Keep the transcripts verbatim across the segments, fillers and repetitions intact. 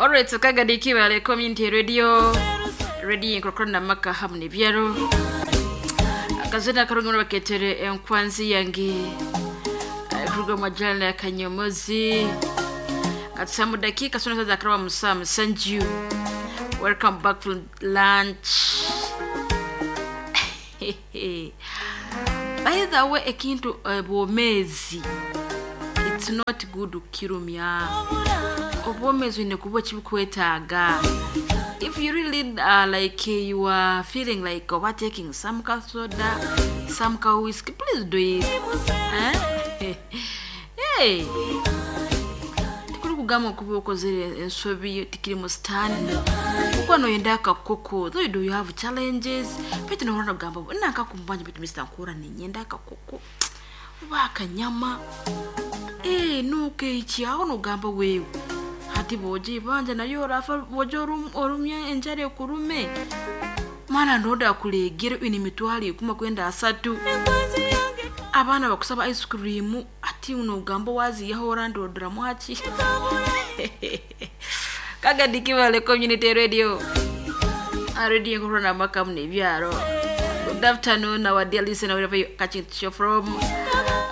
Alright, so Kagadi Kibale Community Radio, Radio inkorokoro maka hamu n'ebyaro. Akazina karungi muno baketere enkwanzi yange eh, kuruga mu majana ya Kanyomozi. Katusamu dakika sona za karaba musa musanju. Welcome back from lunch. By the way, ekintu eh, bwomezi it's not good kirumya obwomezi wine kuba kibukwetaaga. If you really uh, like you are feeling like overtaking some ka soda, some ka whiskey, please do it, eh? Hey, tikuri kugamba okuba okozere ensobi tikiri mu sitaani kuko noyenda akakoko. Though you do, you have challenges, baitu nohora nogamba nankakumbanja, baitu mister nkura ninyenda akakoko oba akanyama. Eh, nukeiki aho nogamba wewe hati boja ibanja nayo orafa boja orum- orumya enjara ekurume mana ndoda kulegere ine emitwaro ikumi kwenda asatu, abaana bakusaba ice cream, ati nogamba waziyaho orandoderamu haki. Kagadi Kibale Community Radio, Radio nkorona maka muno ebyaro. Good afternoon, our dear listener, wherever you catching the show from.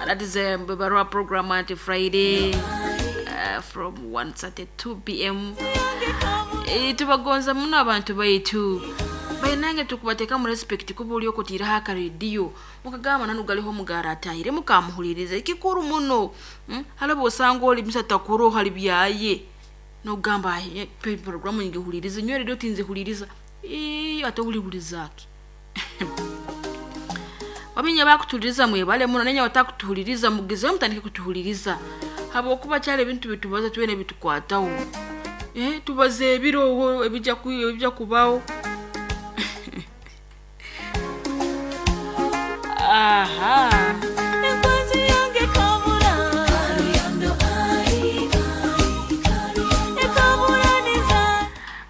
That is a um, Barua program until Friday uh, from one thirty-two p m. Eh, tubagonza muno abantu baitu bainange, tukubateeka mu respect kuba oli okutiiraho akarediyo mukagamba nanu galiho omugara atahire mukamuhuliriza ekikuru muno. mm? Hali bwosanga oli misatakuro hali byaye nogamba, "Ai, pe programu ngihuliriza nyo redio tinzihuliriza." Ii, ate ulihulirizaki? Waminya bakutuhuliriza mwebale muno, nenya batakutuhuliriza mugezeho mutandike kutuhuliriza habwokuba kyali ebintu bitubaza twene bitukwataho. Eh, tubaza ebiro ebijja ku- ebijja kubaho. Aha. Enkwanzi yange kabura ekaburaniza.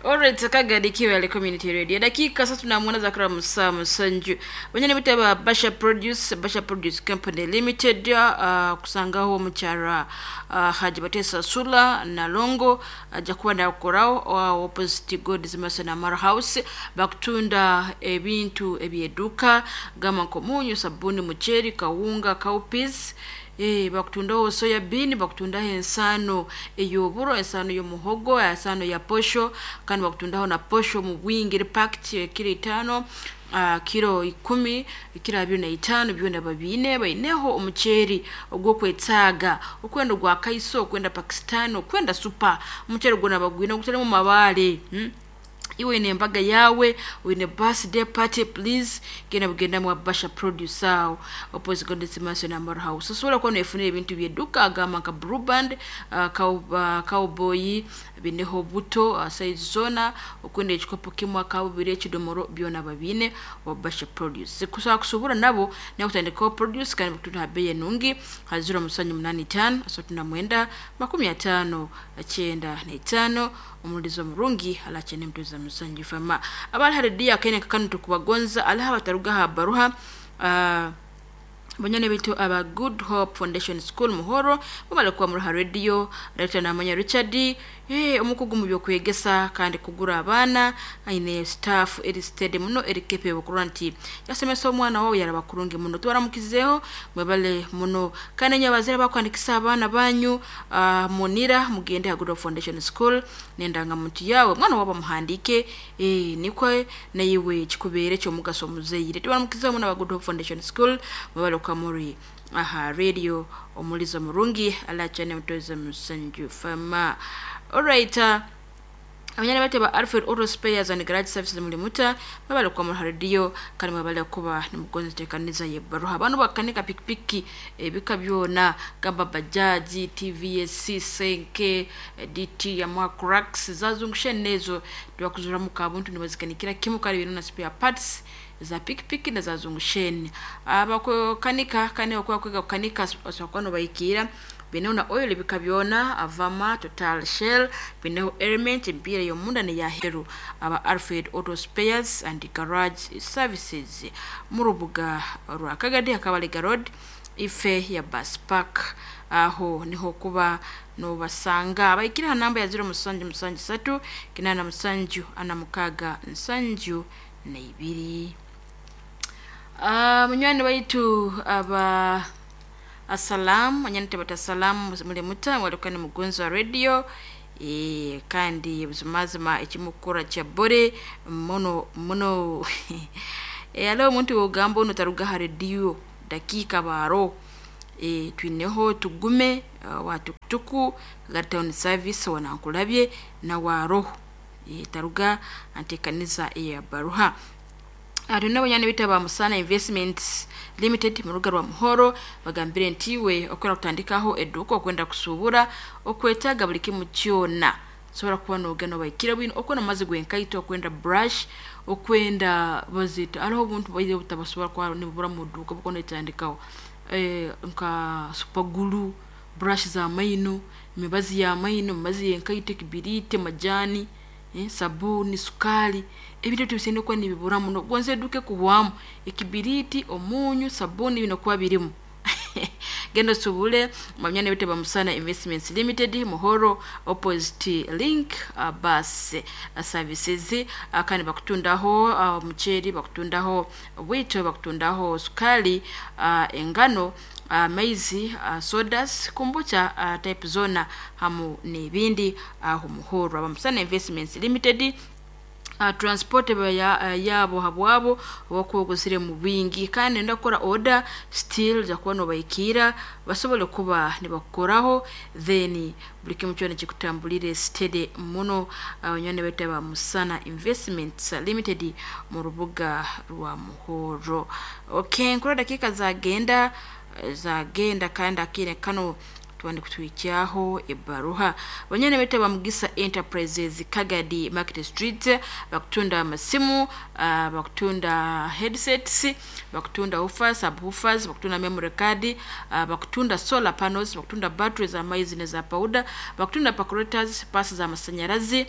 Alright, Kagadi Kibale Community Radio. Dakika sasa tunamuona Zakara Musa Musanju. Wenyene bitaba Basha Produce, Basha Produce Company Limited, uh, kusangaho omukyara uh, Haji Batesa Sula na Longo ajja kuba nakorawo uh, opposite God's Mason Amara House. Bakutunda ebintu ebyeduka gamba nkomunyu, sabuni, mucheri, kawunga, cowpeas. Eh, bakutundaho soya bean, bakutundaho ensaano ey'oburo, ensaano y'omuhogo, ensaano ya posho, kandi bakutundaho na posho mu bwingi eri packed kiro itaano, uh, kiro ikumi, kiro abiri na itaano, byona babiine. Baineho omuceeri ogw'okwetaaga okwenda ogwa kaiso, okwenda Pakistan, okwenda super, omuceeri gwona bagwine ogutalimu mabaale, hmm? Iwe ine embaga yawe, wine birthday party, please genda bugenda mu Basha Produce awo opposite God's Mason Amaro House. Osobola kuba nefunira ebintu byedduka agamba nka Blue Band, uh, cow, uh, cowboy bineho buto uh, size zona, okwenda ekikopo kimu akabubiri, ekidomoro, byona babine wa Basha Produce. Kusaba kusobora nabo nakutandikaho produce kandi bakutunda ha bei enungi ha ziro musanju munani tano asatu na mwenda makumi atano kyenda na itaano. Omulizo omurungi alakye mtuza musanju fama abali haridiya akene kakano tukubagonza aliha bataruga ha baruha uh, banyane bitu aba Good Hope Foundation School Muhoro bamala kuba muruha radio Dr Namanya Richard, eh, omukugu mu byokwegesa kandi kugura abaana, aine staff eri steady muno, eri capable kurora nti yasomesa omwana wawe yaraba kurungi muno. Twaramukizeho, mwebale muno. Kandi nyabazira bakwandikisa abaana banyu uh, munira mugende ha Good Hope Foundation School nendangamuntu yawe, mwana wabo muhandike, eh, nikwe naiwe kikubeere kyomugaso omuzeire. Twaramukizeho muno aba Good Hope Foundation School, mwebale kamuri aha radio. Omulizo murungi alachane mtoza musanju fama. Alright, uh, abanyana bate ba Alfred Auto Spares and Garage Services mulimuta babale kwa mu radio kandi mwabale kuba nimugonze tekaniza ye baruha abantu bakanika pikipiki ebika byona gamba bajaji, T V S Senke, D T ya Macrax zazungushe nezo twakuzura mu kabuntu nibazikanikira kimu kandi bintu na spare parts za pikipiki na za zungusheni. Abakukanika kandi bakuba kwiga kukanika basokwa bayikira bineho na oil bika byona avama Total, Shell, bineho element empira yomunda ne yaheru. Aba Alfred Auto Spares and Garage Services mu rubuga rwa Kagadi Akabalega Road. ife ya bus park aho niho kuba nobasanga baikira ha namba ya ziro musanju musanju satu kinana musanju ana mukaga nsanju na ibiri. Uh, munywani waitu aba asalamu anyani bata salamu mulimuta walikuwa ni mugonzi wa radio e, kandi buzimazima ekimukura kya bore muno muno. E, aliho omuntu wogamba ono taruga ha radio dakika baro e, twineho tugume uh, wa tukutuku ga town service wanankulabye na waroho e, taruga antekaniza ya baruha. Tulina abanyani bita ba Musana Investments Limited mu ruga rwa Muhoro bagambire nti we okwenda kutandikaho edduuka okwenda kusuubura okwetaaga buli kimu kyona sobola kuba noogenda obaikira bwino okwenda amazzi gwenkaito okwenda brush okwenda bazita hariho obuntu bwaire obutabasobola kuba nibubura mu dduuka bukwenda etandikaho eh, nka super glue, brush za maino, emibazi ya maino, emibazi yenkaito, ekibiriti, majani, eh, sabuni, sukali ebintu ebyo bisemeriire kuba nibibura muno gonza eduuka ekuhwamu ekibiriti, omunyu, sabuni bino kuba birimu. Genda osubule banywana baitu ba Musana Investments Limited Muhoro opposite link uh, bus uh, services uh, kandi bakutundaho uh, muceeri, bakutundaho bwito, bakutundaho sukali, uh, engano, amaizi, uh, sodas, kombucha uh, type zona hamu n'ebindi aho Muhoro aba Musana Investments Limited. Uh, transport ya, uh, yabo habwabo obakwogozire mu bwingi kandi nenda kukora order still jakuba nobaikira basobole kuba nibakukoraho then buli kimu kyona kikutambulire steady muno. Abanywani uh, baitu aba Musana Investments Limited mu rubuga rwa Muhoro. Okay, nkura dakika zagenda zagenda kandi akire kano twandi kutwikyaho ebaruha. Banyana bete ba Mugisa Enterprises Kagadi Market Street bakutunda amasimu, uh, bakutunda headsets, bakutunda woofers, subwoofers, bakutunda memory card, uh, bakutunda solar panels, bakutunda batteries za maizi ne za powder, bakutunda percolators, pasi za masanyarazi,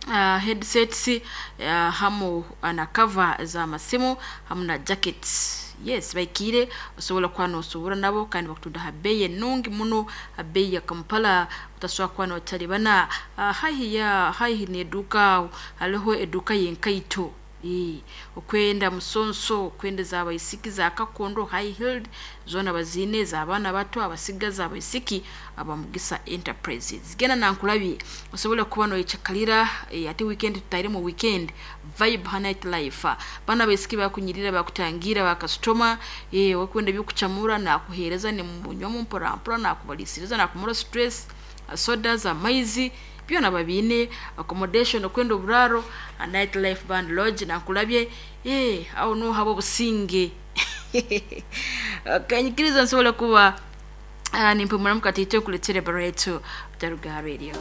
uh, headsets, uh, hamu na cover za masimu hamu na jackets. Yes, baikire osobola kuba nosobora nabo kandi bakutunda ha bei enungi muno, ha bei ya Kampala utasobola kuba notalibana. Uh, haihi ya haihi neduka hariho eduka yenkaito e, okwenda musonso okwenda za baisiki za kakondo high heeled zona bazine za abaana bato abasigazi abaisiki aba Mugisa Enterprises. Genda nankulabye osobole kuba noyecakalira e, ate weekend tutaire mu weekend vibe ha night life bana baisiki bakunyirira bakutangira bakasitoma e, okwenda byokucamura nakuhereza ne munywa mpora mpora nakubalisiriza nakumura stress soda amaizi byona babine accommodation okwenda oburaro a night life band lodge nankulabye eh aho no habo businge. Kanyikiriza nsobola kuba uh, nimpumura mukatito kuletere bareto Taruga Radio.